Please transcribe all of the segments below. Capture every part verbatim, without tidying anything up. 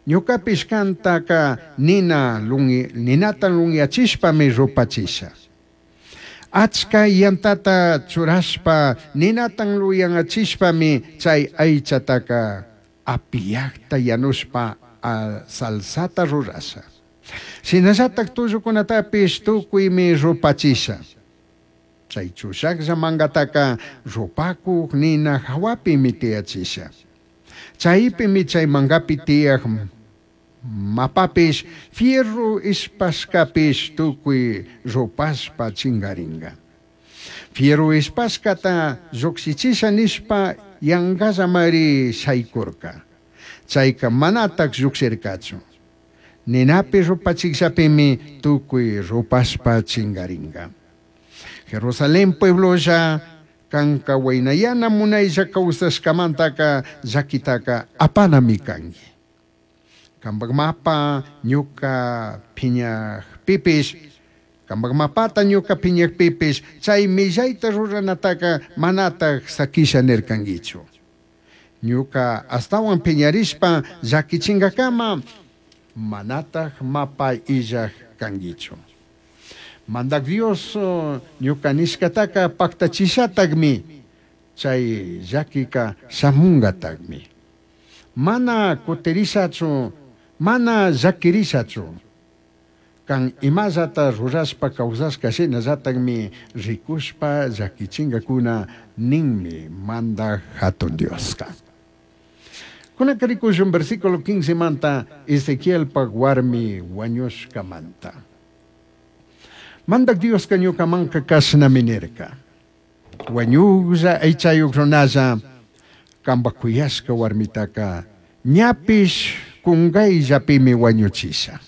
Ñucapish cantaca nina lungi, ninata lunyachishpami rupachisha. Achka yantata churashpa ninatan luyanachishpami chay aychataka apiyakta yanushpa salsata rurasha. Shinallatak tullukunatapish tukuymi rupachisha. Chay chushaklla mangataka rupakuk nina hawapimi tiyachisha. Chaypimi chay mangapi tiyak mapapish fierro ispashkapish tukuy rupashpa chingaringa. Fierro ispashkata lluqshichisha nishpa yangallamari shaykurka. Chayka manatak lluqshirkachu. Ninapi rupachikllapimi tukuy rupashpa chingaringa. Jerusalén pueblolla kanka waynayana munaylla kawsashkamantaka llakitaka apanami kanki. Kampak mapa ñuka piñakpipish, kampak mapata ñuka piñakpipish, chay millayta ruranataka manatak sakisha nirkankichu. Ñuka astawan piñarishpa llakichinkakama manatak mapa illak kankichu. Mandak Dios ñuka nishkataka paktachishatakmi, chay llakika shamungatakmi. Mana kutirishachu, mana llakirishachu. Kan imallata rurashpa kawsashka shinallatakmi rikushpa llakichinkakuna ninmi mandak hatun Dioska. Kunaka rikushun versículo quince manta Ezequielpak warmi wañushkamanta. Mandak Dioska ñukamanka kashnami nirka. Wañuklla aychayuk runalla kampak kuyashka warmitaka ñapish kungayllapimi wañuchisha.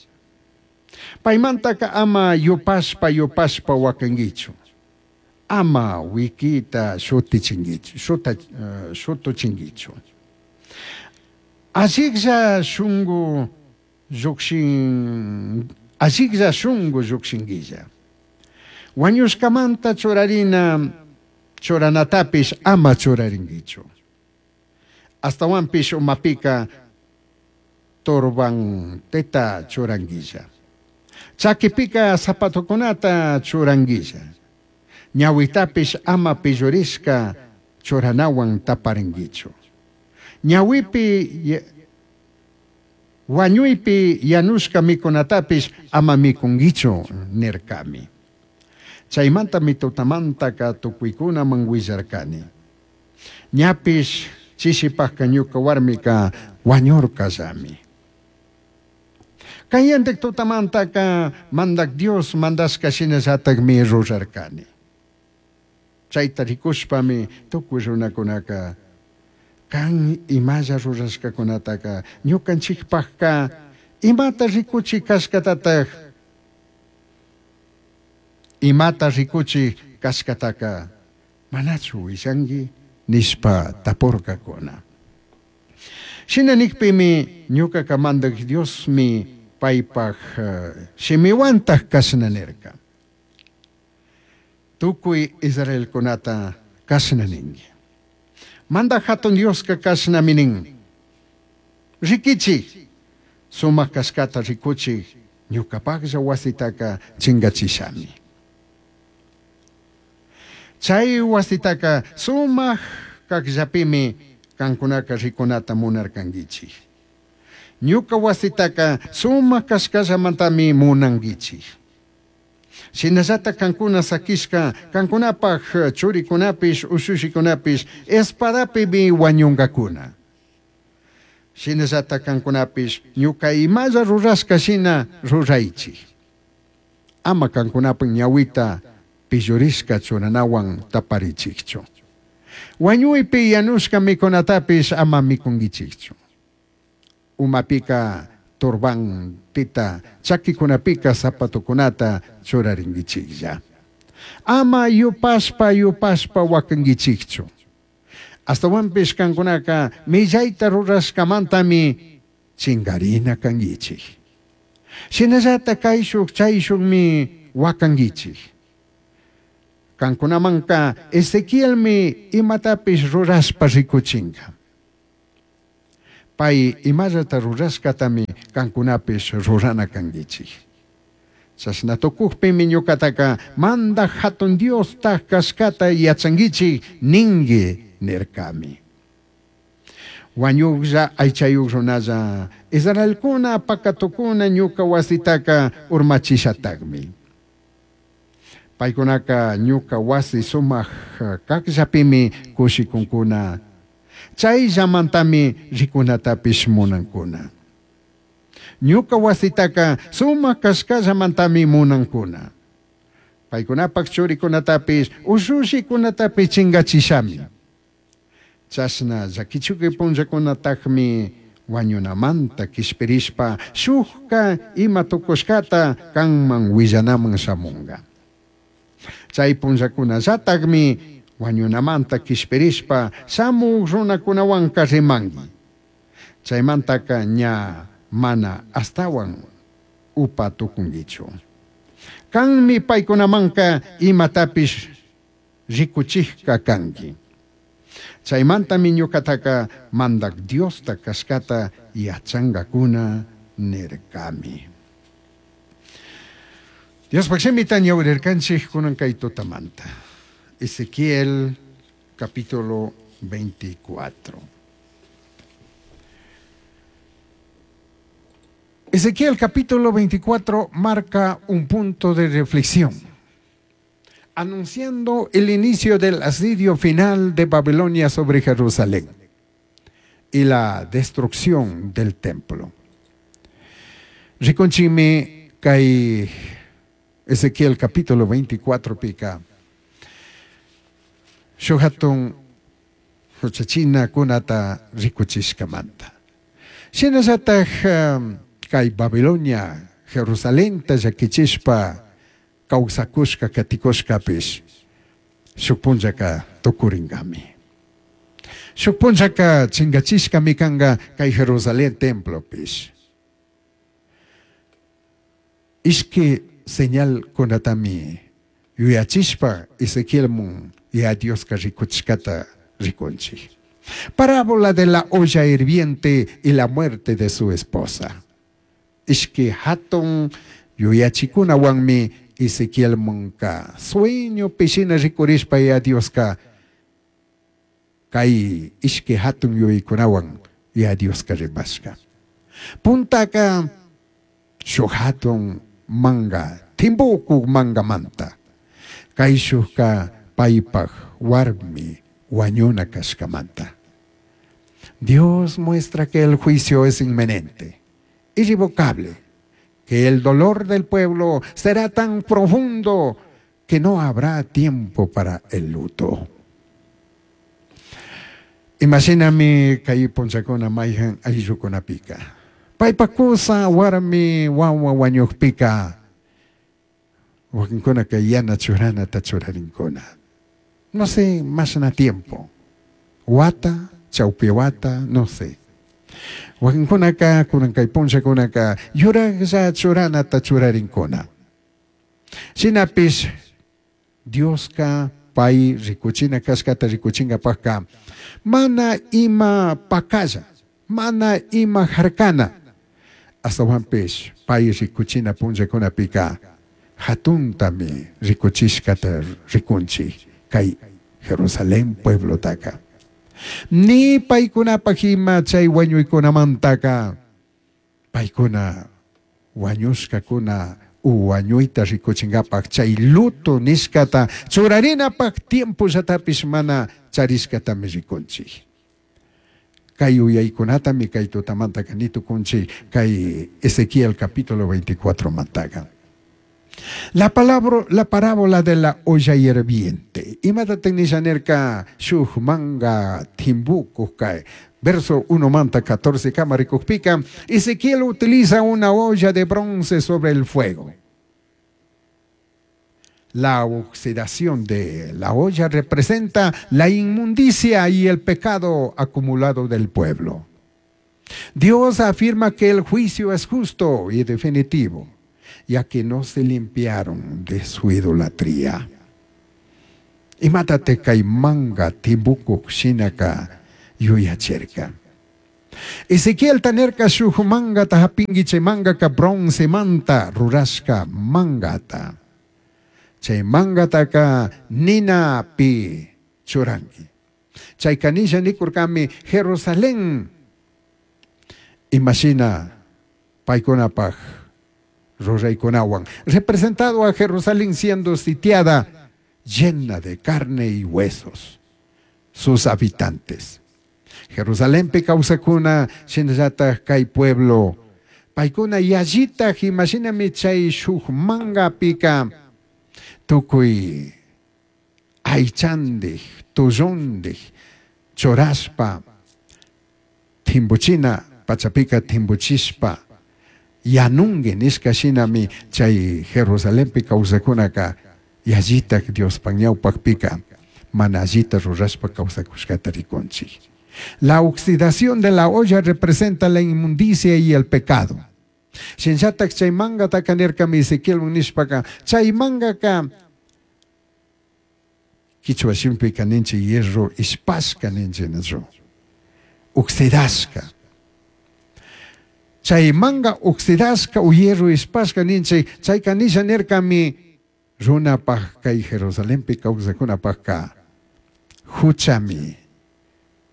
Paymantaka ama yupashpa yupashpa wakankichu. Ama wikita shutichinkichu, shuta, uh, shutuchinkichu. Alliklla shunku llukshin, alliklla shunku llukshinkilla. Wañushkamanta churarina churanatapish ama churarinkichu. Astawanpish umapika turbanteta churanquilla. Chakipika zapatokunata churanquilla. Ñawitapish ama pillurishka churanawan taparinkichu. Ñawipi wañuypi yanushka mikunatapish ama mikunkichu nirkami. Chaymanta mitutamantaka tukuykunaman willarkani. Ñapish chishipajka ñuka warmika wañurkallami. Kayantik tutamantaka mandak Dios mandashka shinallatakmi rurarkani. Chayta rikushpami tukuy runakunaka kan imalla rurashkakunataka ñukanchikpajka imata rikuchi kashkatataj imata rikuchi kashkataka manachu willanki nishpa tapurkakuna. Shina nikpimi ñukaka mandak Diosmi paypaj shimiwantaj kashna nirka. Tukuy Israelkunata kashna ninki. Mandak hatun Dioska kashnami nin. Rikichi, sumak kashkata rikuchi, ñukapaklla wasitaka chingachishami. Chay wasitaka sumak kakllapimi kankunaka rikunata munarkankichik. Ñuka wasitaka sumak kashkallamantami munankichik. Shinallata kankuna sakishka kankunapaj churikunapish ushushikunapish espadapimi wañunkakuna. Shinallata kankunapish ñuka imalla rurashka shina ruraychik. Ama kankunapaj ñawita pillurishka churanawan taparichikchu. Wañuypi yanushka mikunatapish ama mikunkichikchu. Umapika turbantita, chakikunapika zapatokunata churarinkichiklla. Ama yupashpa yupashpa wakankichikchu. Astawanpish kankunaka millayta rurashkamantami chingarina kankichik. Shinallata kayshuk chayshukmi wakankichik. Kankunamanka Ezequielmi imatapish rurashpa rikuchinka. Pay imallata rurashkatami Cancunapish rurana canguichij. Chashna tucujpimi ñucataca Mandaj Jatun Diostaj cashcata yachanguichij ningui nircami. Huañujlla aichayuj runalla, Israelcuna pacatucuna ñuca huasitaca urmachishatajmi. Paicunaca ñuca huasi sumaj cajllapimi cushicuncuna, chaillamantami ricunatapish munancuna. Ñuca huasitaca sumaj cashcallamantami munancuna. Paicunapaj churicunatapish, ushushicunatapish chingachishami. Chashna llaquichuqui punllacunatajmi huañunamanta quishpirishpa shujca ima tucushcata canman huillanaman shamunga. Chay punllacunallatajmi huañunamanta quishpirishpa shamuj runacunahuanca rimangui. Chaimantaca ña mana ashtahuan upa tucunguichu. Canmi paicunamanca imatapish ricuchijca cangui. Chaimantami ñucataca Mandaj Diosta cashcata yachangacuna nircami. Diospaj shimita ñawirircanchij cunan kay tutamanta. Ezequiel capítulo veinticuatro. Ezequiel capítulo veinticuatro marca un punto de reflexión, anunciando el inicio del asedio final de Babilonia sobre Jerusalén y la destrucción del templo. Rikunchimi kay Ezequiel capítulo veinticuatro pica shuj hatun huchachina kunata rikuchishkamanta. Shinallataj um, kay Babilonia Jerusalenta llakichishpa kawsakushka katikushkapish shuk punllaka tukuringami. Shuk punllaka chingachishkami kanga kay Jerusalén templopish. Ishki señal kunatami yuyachishpa Ezequielmun ya Dioska rikuchishkata rikunchik. Parábola de la olla hirviente y la muerte de su esposa. Ishki hatun yuyachikunawanmi Ezequielmunka sueño pishina rikurishpa ya Dioska kay ishki hatun yuyaykunawan ya Dioska rimashka. Puntaka shuk hatun manga timbuku mangamanta kay shukka paypaj warmi wañuna kashkamanta. Dios muestra que el juicio es inminente, irrevocable, que el dolor del pueblo será tan profundo que no habrá tiempo para el luto. Imagíname kay punchakuna mayhan ayllukunapika. Paypakusa warmi wawa wañuqpika wakinkuna kay yana churanata churarinkuna. No sé, más na tiempo. Wata, chawpi wata, no sé. Wakinkunaka, kunan kay punchakunaka, yuraqlla churanata churarinkuna. Shinapish Dioska pay rikuchina kashkata rikuchinkapajka mana ima pakalla, mana ima harkana. Astawanpish pay rikuchina punllakunapika hatuntami rikuchishkata rikunchik kay Jerusalén pueblotaka. Ni paykunapaj ima chay wañuykunamantaka paykuna wañushkakuna u wañuyta rikuchinkapaj chay luto nishkata churarinapaj tiempollatapis mana charishkatami rikunchik. Kay uyaykunatami kay tutamantaka nitukunchik kay Ezequiel capítulo veinticuatro mantaka. La palabra, la parábola de la olla hirviente. Imata nishanerka shuj manga timbuku kai. Verso uno manta catorce kamarikukpika. Ezequiel utiliza una olla de bronce sobre el fuego. La oxidación de la olla representa la inmundicia y el pecado acumulado del pueblo. Dios afirma que el juicio es justo y definitivo, ya que no se limpiaron de su idolatría. Imátate kay manga timbuku shinaka yuyacherka. Ezequielta nirka shuk mangata hapinki, chay mangaka broncemanta rurashka mangata. Chay mangataka ninapi churanki. Chay kanisha nikurkami Jerusalén imashina paykunapaj ruraykunawan representado a Jerusalén siendo sitiada llena de carne y huesos sus habitantes. Jerusalenpi kawsakuna shinallataj kay pueblo paykuna yallitaj imashinami chay shuk mangapika tukuy aychandij tullundij churashpa timbuchina pachapika timbuchishpa yanungi nishka shinami chay Jerusalenpi kawsakunaka yallitaj Diospaj ñawpakpika mana allita rurashpa kawsakushkata rikunchik. La oxidación de la olla representa la inmundicia y el pecado. Shinallatak chay mangataka nirkami Ezequiel nishpaka chay mangaka kichwa shimipika ninchik hierro ispashka ninchik nachu oxidashka. Chay manga oxidashka o hierro ispashka ninchik chayka nisha nirkami runapaj kay Jerusalenpi kawsakunapajka huchami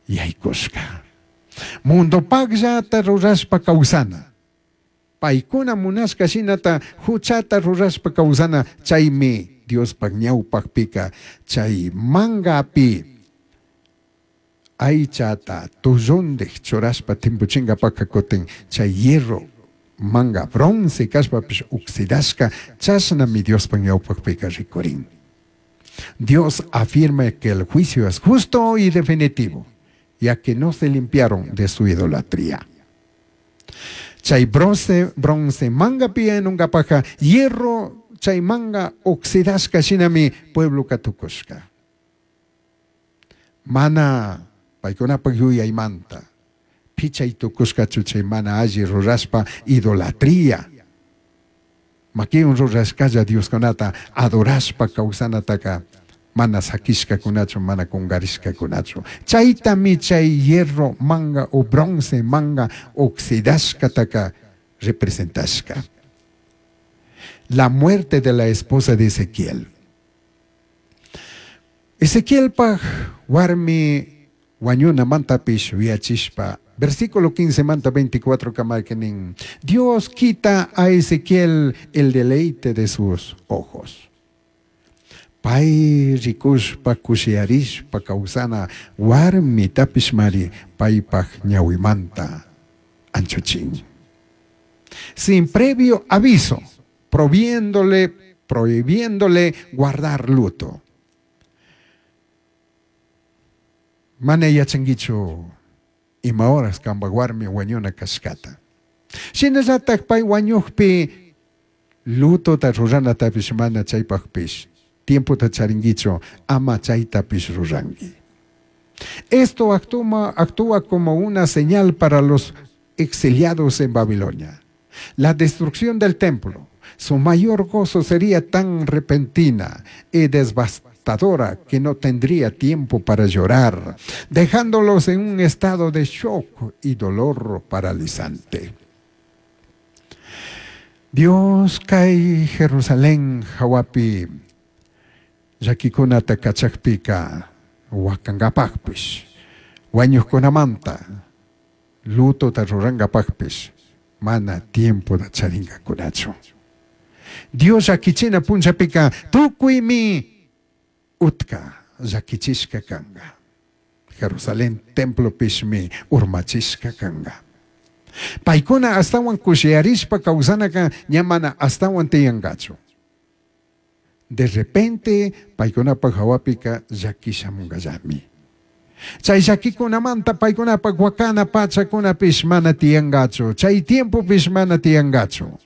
yaykushka. Mundopajllata rurashpa kawsana. Paykuna munashka shinata huchata rurashpa kawsana chaymi Diospaj ñawpajpika chay mangapi aychata tullundij churashpa timpuchinkapaka kutin chay hierro manga bronce kashpapish oxidashka chashnami Diospaj ñawpajpika rikurin. Dios afirma que el juicio es justo y definitivo, ya que no se limpiaron de su idolatría. Chay bronce, bronce mangapi yanunkapaja hierro chay manga oxidashka shinami pueblo katukushka. Mana paykunapaj yuyaymanta pichay tukushkachu chay mana alli rurashpa idolatría. Makiwan rurashkalla Dioskunata adorashpa kawsanataka mana sakishkakunachu mana kungarishkakunachu. Chaytami chay hierro manga o bronce manga oxidashkataka representashka. La muerte de la esposa de Ezequiel. Ezequielpaj warmi wañunamantapish yuyachishpa versículo quince manta veinticuatro kamarkenin Dios quita a Ezequiel el deleite de sus ojos. Pay rikushpa kushiyarishpa kawsana warmi tapishmari paypaj ñawimanta anchuchin. Sin previo aviso, prohibiéndole, prohibiéndole guardar luto. Mana yachankichu ima horas kamba warmi wañuna kashkata. Shinallatak pay wañukpi lutota ruranatapish mana chaypajpish tiempota charinkichu ama chaytapish ruranki. Esto actúa, actúa como una señal para los exiliados en Babilonia. La destrucción del templo, su mayor gozo sería tan repentina y devastadora que no tendría tiempo para llorar, dejándolos en un estado de shock y dolor paralizante. Dios kay Jerusalén hawapi llakikunata kachakpika wakankapajpish wañuqkunamanta lutota rurankapajpish mana tiempota charinkakunachu. Dios llakichina punllapika tukuymi utka llakichishka kanka. Jerusalén templopishmi urmachishka kanka. Paykuna astawan kushiyarishpa kawsanaka ña mana astawan tiyankachu. De repente paykunapaj hawapika llakishamunkallami. Chay llakikunamanta paykunapaj wakana pachakunapish mana tiyankachu. Chay tiempopish mana tiyankachu.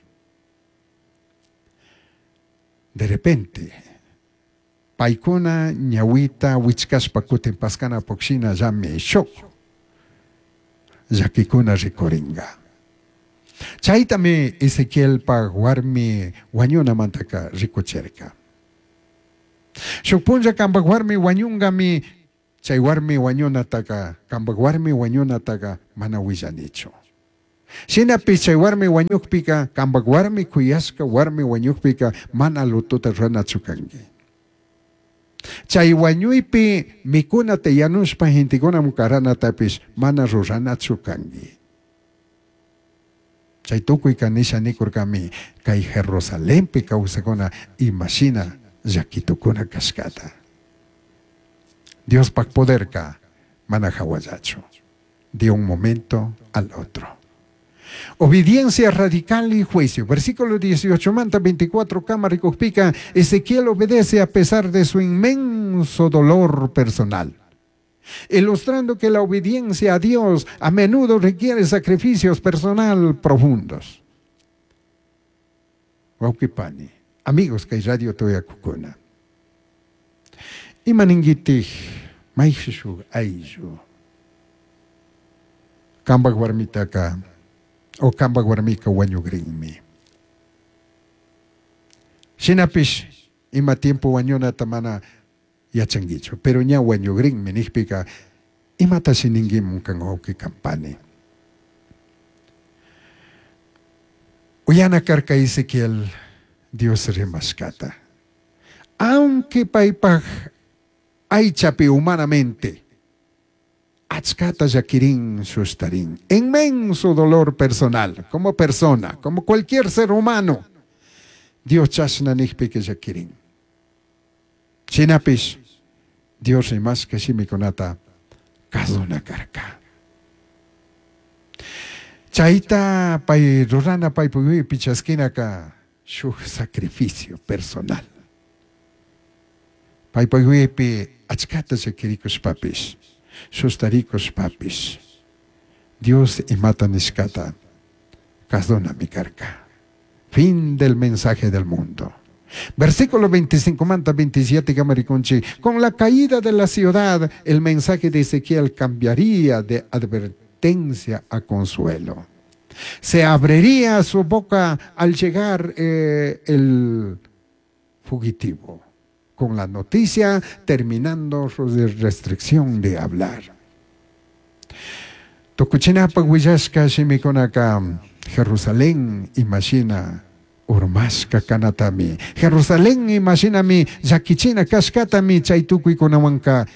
De repente paykuna ñawita wichkashpa kutin paskana pukshina llami shuk llakikuna rikurinka. Chaytami Ezequielpaj warmi wañunamantaka rikuchirka. Shuk punlla kanpak warmi wañunkami Chay warmi wañunataqa, kambaj warmi wañunataqa mana willanichu. Shinapish chay warmi wañukpika, kambaj warmi kuyashka warmi wañukpika mana lutota ruranachu kanki. Chay wañuypi mikunata yanushpa gentekunaman karanatapish mana ruranachu kanki. Chay tukuyka nisha nikurkami kay Jerusalenpi kawsakuna imashina llakitukuna kashkata. Diospaj poderka mana hawallachu, de un momento al otro. Obediencia radical y juicio. Versículo dieciocho manta veinticuatro kama rikukpika, Ezequiel obedece a pesar de su inmenso dolor personal, ilustrando que la obediencia a Dios a menudo requiere sacrificios personal profundos. Wawqipani, amigos kay radio tuyakukuna. Ima ninkitik mayshuk ayllu kambaj warmitaka o kambaj warmika wañugrinmi. Shinapish ima tiempo wañunata mana yachankichu, pero ña wañugrinmi nijpika imatashi ninkimun kan wawqi kampani. Uyana karka Ezequiel Dios rimashkata. Aunque paypaj aychapi humanamente achkata llakirin sustarin, inmenso dolor personal, como persona, como cualquier ser humano, Dios chashna nijpika llakirin. Shinapish Dios rimashka shimikunata kasuna karka. Chayta pay rurana paypuyuypi chaskinaka shuk sacrificio personal. Paypuyuypi achkata llakirikushpapish, sustarikushpapish, Dios imata nishkata kasunami karka. Fin del mensaje del mundo. Versículo veinticinco manta veintisiete kamarikunchi. Con la caída de la ciudad, el mensaje de Ezequiel cambiaría de advertencia a consuelo. Se abriría su boca al llegar, eh, el fugitivo, con la noticia terminando su restricción de hablar. Tukuchinapa willashka shimikunaka Jerusalén imashina urmashka kanatami. Jerusalén imashinami llakichina kashkatami chay tukuykunawanka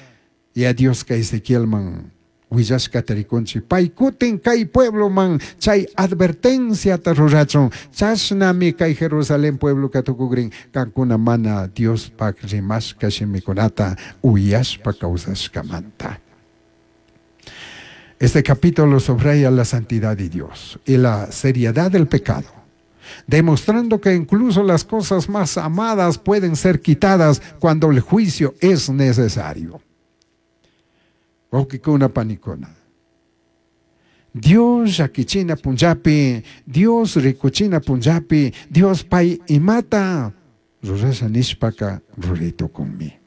ya Dioska Ezequielman willashkata rikunchik. Paykutin kay puebloman chay advertenciata rurachun. Chashnami kay Jerusalén puebloka tukukrin kankuna mana Diospaj rimashka shimikunata uyashpa kawsashkamanta. Este capítulo subraya la santidad de Dios y la seriedad del pecado, demostrando que incluso las cosas más amadas pueden ser quitadas cuando el juicio es necesario. Wawqikuna panikuna. Dios llakichina punllapi, Dios rikuchina punllapi, Dios pay imata rurasha nishpaka ruraytukunmi.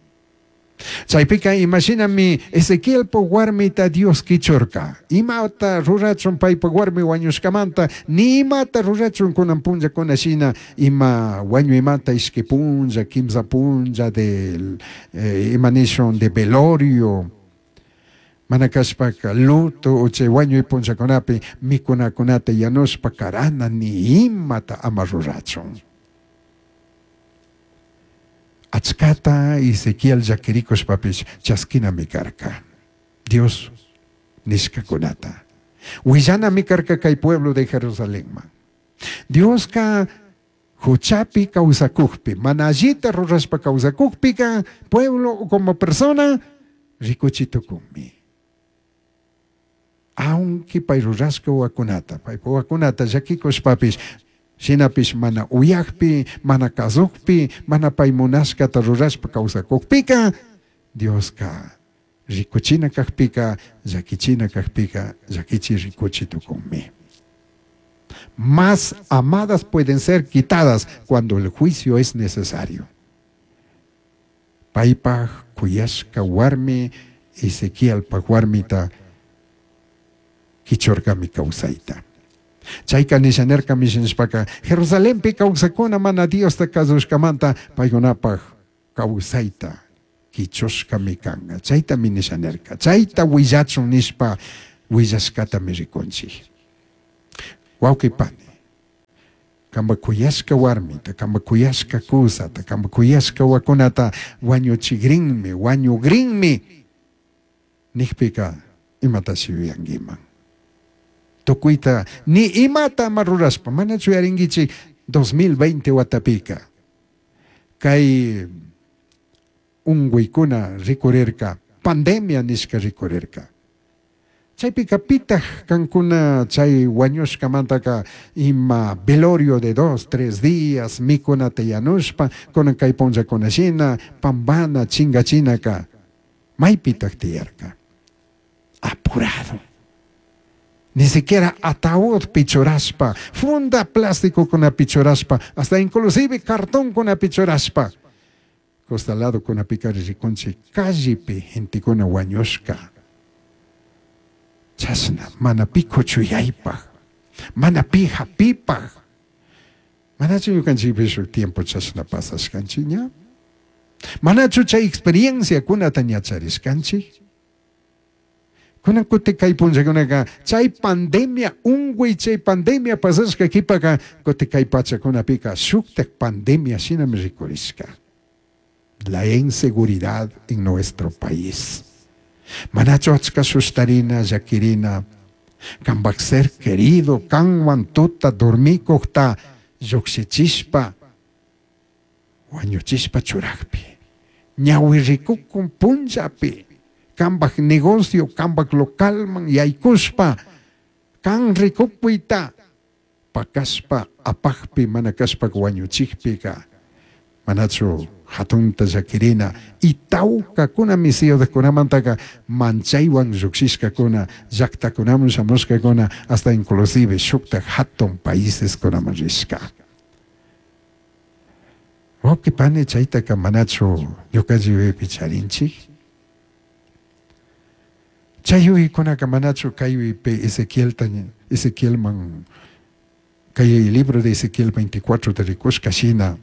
Chaypika imashinami Ezequielpa warmita Dios kichurka. Imata rurachun paypa warmi wañushkamanta, ni imata rurachun kunan punllakuna shina, ima wañuymanta ishki punlla, kimsa punlla del, eh, ima nishun de velorio. Mana kashpaka luto o chay wañuy punllakunapi mikunakunata yanushpa karana ni imata ama rurachun. Achkata Ezequiel llakirikushpapish chaskinami karka Dios nishkakunata. Willanami karka kay pueblo de Jerusalenman. Dioska huchapi kawsakukpi, mana allita rurashpa kawsakukpika, pueblo como persona rikuchitukunmi. Aunque pay rurashka wakunata, pay wakunata llakikushpapish, shinapish mana uyakpi, mana kasukpi, mana pay munashkata rurashpa kawsakukpika, Dioska rikuchina kakpika, llakichina kakpika, llakichi rikuchi tukunmi. Más amadas pueden ser quitadas cuando el juicio es necesario. Paypaj kuyashka warmi, Ezequielpaj warmita kichurkami kawsayta. Chayka nishanerka mishanishpaka Jerusalenpi kawsakuna mana Diosta kasushkamanta paykunapaj kawsayta quichushcami canga. Chaytami nisha nirka. Chayta willachun nishpa willashkatami rikunchik. Wawqi pani, kamba kuyashka warmita, kamba kuyashka kusata, kamba kuyashka wakunata wañuchigrinmi, wañugrinmi nijpika imatashi yuyankiman. Tukuyta ni imata ama rurashpa, manachu yuyarinkichik dos mil veinte watapika kay unguykuna rikurirka, pandemia nishka rikurirka. Chaypika pitaq kankuna chay wañushkamantaka ima velorio de dos, tres días mikunata yanushpa, kunan kay punllakunashina, pambana, chingachinaka, maypitaq tiyarka. Apurado. Ni siquiera ataúd pichurashpa, funda plástico kuna pichurashpa, hasta inclusive cartón kuna pichurashpa. Costalado kuna pikari rikunchi, callepi gentekuna wañushka. Chashna, mana pi kuchuyaypaj, mana pi hapipaj. Manachu ñukanchikpi shuk tiempo chashna pasashkanchik ña? Manachu chay experiencia kunata ña charishkanchik? Kunan kuti kay punllakunaka chay pandemia unguy, chay pandemia pasashka kipaka kuti kay pachakunapika shuktak pandemia shinami rikurishka. La inseguridad en nuestro país. Manachu achka sushtarina, llakirina, kanpak ser querido, kanwan tuta dormikukta llukshichishpa, wañuchishpa churakpi, ñawi rikukun punllapi, kanpak negocio, kanpak localman yaykushpa, kan rikukpuyta, pakashpa, apakpi, mana kashpa wañuchikpika, manachu hatunta llakirina, y tawkakuna ciudadkunamantaka manchaywan llukshishkakuna, llaktakunaman shamushkakuna, hasta inclusive shuktak hatun paíseskunaman rishka. Wawqi pani, chaytaka manachu ñukanchik yuyaypi charinchik? Chay yuyaykunaka manachu kay yuyaypi Ezequielta, Ezequielman, kay libro de Ezequiel veinticuatro te rikushka shina,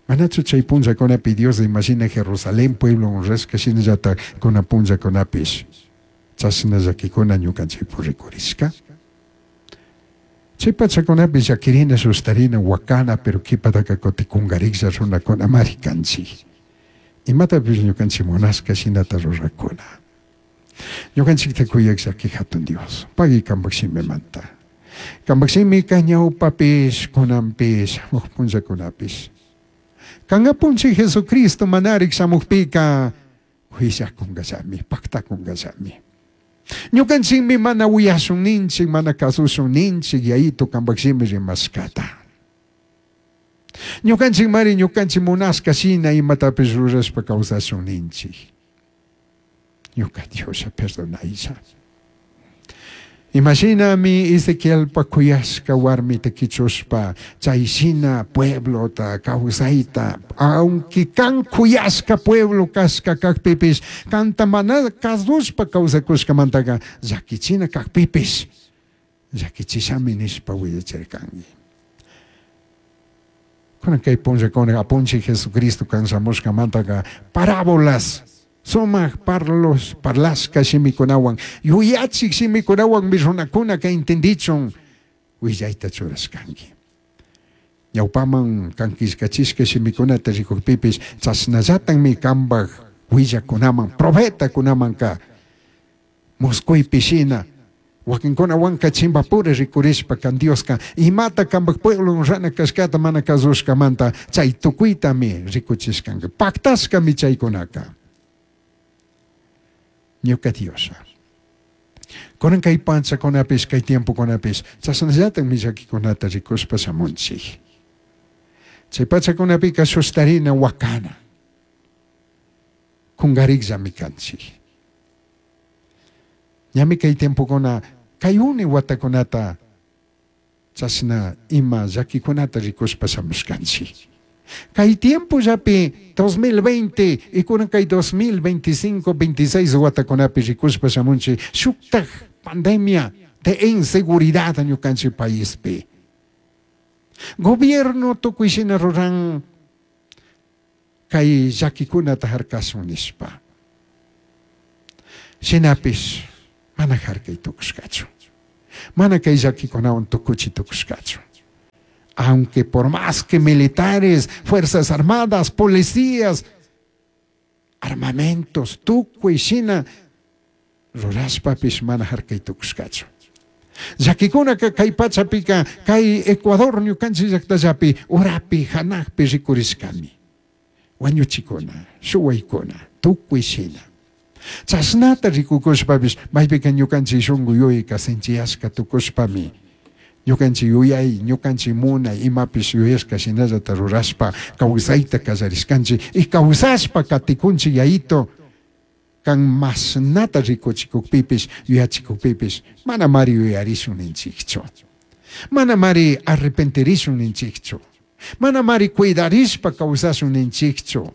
manachu chay punllakunapi Dios imagina Jerusalén pueblo honrashka shinallata kuna punllakunapish chashna llakikuna ñukanchikpu rikurishka. Chay pachakunapi llakirina, sustarina, wakana, pero kipataka kutikungariklla runakuna mari kanchik. Imatapish ñukanchik munashka shinata rurakuna. Ñukanchikta kuyak llaki hatun Dios, pagui kanpak shimimanta. Kanpak shimika ñawpapish, kunanpish, shamuq punllakunapish. Kangapunchik Jesucristo manarik shamukpika huillakunkallami, paktakunkallami. Ñukanchikmi mana uyashun ninchik, mana kasushun ninchik, yayito kanpak shimi rimashkata. Ñukanchik mari ñukanchik munashka shina imatapish rurashpa kawsashun ninchik. Ñuka Dioslla perdonaylla. Imashinami Ezequielpa kuyashka warmita kichushpa chay shina pueblota kawsayta, aunque kan kuyashka pueblo kashka kakpipish, kanta mana kasushpa kawsakushkamantaka llakichina kakpipish, llakichishami nishpa willachirkanki. Kunan kay punllakuna apunchik Jesucristo kan shamushkamantaka parábolas, sumaq parlos, parlashka shimikunawan, yuyachik shimikunawan mi runakuna ka entendichun willayta churashkanki. Ñawpaman kankishkachishka shimikunata rikukpipish chashnallatanmi kanpak willakunaman, profetakunamanka musquypi shina wakinkunawanka chimpapura rikurishpa kan Dioska imata kanpak pueblo rana kashkata mana kasushkamanta chay tukuytami rikuchishkanki, paktashkami chaykunaka. Ñuka Dioslla. Kunan kay panchakunapish, kay tiempokunapish, chashnallatakmi llakikunata rikushpa shamunchik. Chay pachakunapika sushtarina wakana. Kungarikllami kanchik. Ñami kay tiempokuna, kay uni watakunata chashna ima llakikunata rikushpa shamushkanchik. Kay tiempollapi dos mil veinte y kunan kay dos mil veinticinco, veintiséis watakunapi rikushpa shamunchik shuktak pandemia de inseguridad ñukanchik paispi. Gobierno tukuy shina ruran Kay llakikunata harkasun nishpa. Shinapish mana harkay tukushkachu. Mana kay llakikunawan tukuchi tukushkachu. Aunque por más que militares, fuerzas armadas, policías, armamentos, tukuy shina rurashpapish mana harkay tukushkachu. Llakikunaka kay pachapika kay Ecuador ñukanchik llaktallapi urapi hanakpi rikurishkami. Wañuchikuna, shuwaykuna, tukuy shina. Chashnata rikukushpapish maypika ñukanchik shunku yuyayka sinchiyashka tukushpami ñukanchik yuyay, ñukanchik munay imapish yuyashka shinallata rurashpa kawsayta kallarishkanchik y kawsashpa katikunchik yayito kan mashnata rikuchikukpipish yuyachikukpipish mana mari yuyarishun ninchikchu. Mana mari arrepentirishun ninchikchu. Mana mari cuidarishpa kawsashun ninchikchu.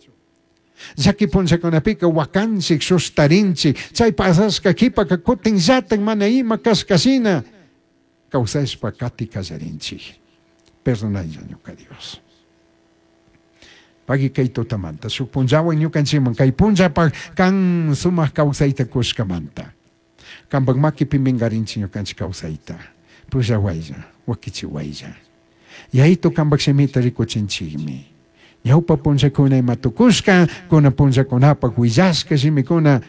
Llaki punllakunapika wakanchik sustarinchik chay pasashka qhipaka kutinllatak mana ima kashkashina kawsashpa kati kallarinchik. Perdonaylla ñuka Dios. Pagui kay tutamanta shuk punllawan ñukanchikman kay punllapak kan sumak kawsayta kushkamanta. Kanpak makipi minkarinchik ñukanchik kawsayta. Pushawaylla, wakichiwaylla. Yayito kanpak shimita rikuchinchikmi. Ñawpa punllakuna ima tukushka, kuna punllakunapak willashka shimikuna,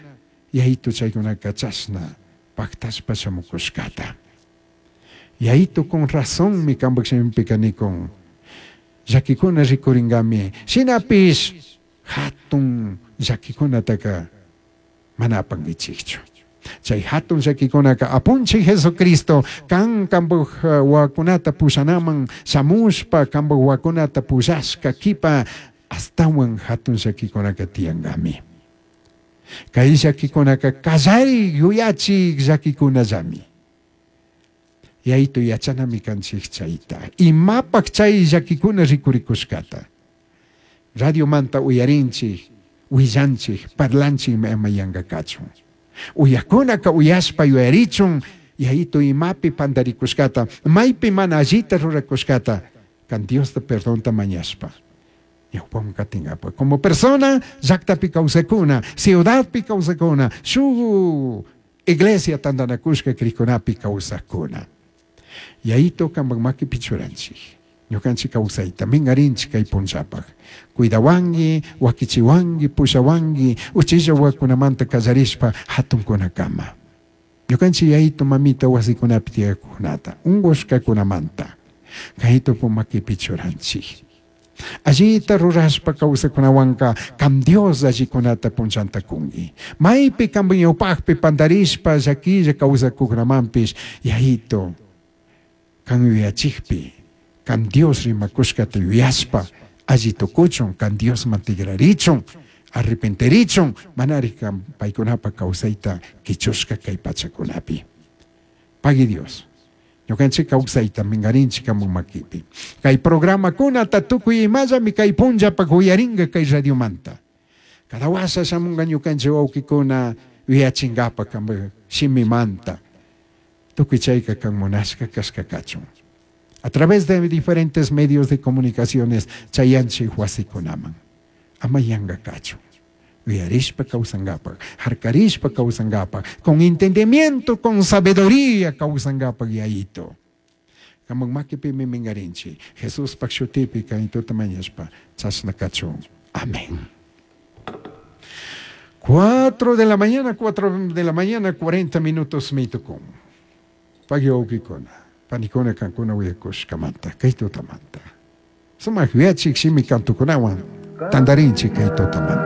yayito chaykunaka chashna paktashpa shamukushkata. Yayito con razonmi kanpak shimipika nikun. Llakikuna rikuringami, shinapish hatun llakikunataka mana apankichikchu. Chay hatun llakikunaka apunchik Jesucristo kan kanpak wawakunata pushanaman shamushpa kanpak wawakunata pushashka kipa astawan hatun llakikunaka tiyankami. Kay llakikunaka kallari yuyachik llakikunallami. Yayito yachanami kanchik chayta. Imapak chay llakikuna rikurikushkata. Radiomanta uyarinchik, willanchik, parlanchik ama yanka kachun. Uyakunaka uyashpa yuyarichun, yayito imapi pandarikushkata, maypi mana allita rurakushkata, kan Diosta perdonta mañashpa. Ñawpaman katingapa. Como persona, llaktapi kawsakuna, ciudadpi kawsakuna, shuk iglesia tantanakushka krikunapi kawsakuna. Yayito kanpak makipi churanchik. Ñukanchik kawsayta minkarinchik kay punllapak. Cuidawanki, wakichiwanki, pushawanki, uchilla wawakunamanta kallarishpa hatunkunakama. Ñukanchik yayito mamita wasikunapi tiyakunata, unkushkakunamanta. Kaytupu makipi churanchik. Allita rurashpa kawsakunawanka kam Dios allikunata punllanta kunki. Maypi kanpak ñawpakpi pandarishpa llakilla kawsakunamanpish yayito kan yuyachikpi, kan Dios rimakushkata yuyashpa alli tukuchun, kan Diosman tigrarichun, arrepentirichun, manari kan paykunapa kawsayta kichushka kay pachakunapi. Pagui Dios. Ñukanchik kawsayta minkarinchik kamun makipi. Kay programakunata tukuy imallami kay punllapak uyarinka kay radiomanta. Cada washa shamunka ñukanchik wawkikuna yuyachinkapak kanpak shimimanta. Tukuy chayka kan munashka kashka kachun. A través de diferentes medios de comunicaciones chayanchik wasikunaman. Ama yanka kachun. Uyarishpa kawsankapak, harkarishpa kawsankapak, con entendimiento, con sabiduría kawsankapak yayito. Kaman makipimi minkarinchik, Jesuspak shutipi kaytuta mañashpa, chashna kachun. Amén. Cuatro de la mañana, cuatro de la mañana, cuarenta minutos mitukum. Pagui wawkikuna, panikuna kankuna willakushkamanta, kay tutamanta. Sumak yuyachik shimi kantukunawan, tantarinchik kay tutamanta.